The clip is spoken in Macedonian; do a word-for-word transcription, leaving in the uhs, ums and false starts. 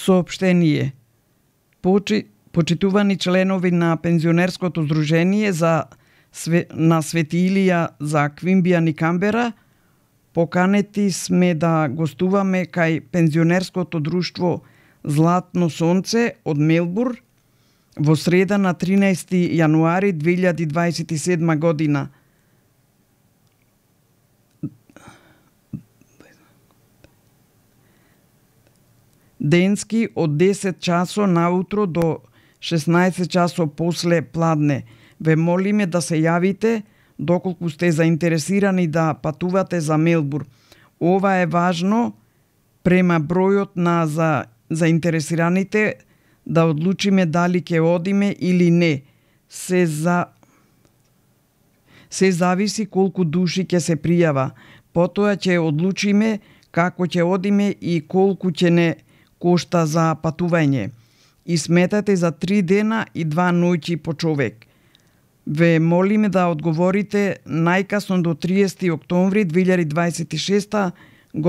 Соопштение. Почи, почитувани членови на пензионерското здружение за све, на Свети Илија за Квимбијан и Камбера, поканети сме да гостуваме кај пензионерското друштво Златно сонце од Мелбур во среда на тринаесети јануари две илјади дваесет и седма година. Денски од десет часо наутро до шеснаесет часо после пладне. Ве молиме да се јавите доколку сте заинтересирани да патувате за Мелбур. Ова е важно према бројот на за заинтересираните да одлучиме дали ќе одиме или не. Се за се зависи колку души ќе се пријава. Потоа ќе одлучиме како ќе одиме и колку ќе не кошта за патување. И сметате за три дена и два ноќи по човек. Ве молиме да одговорите најкасно до триесети октомври две илјади дваесет и шеста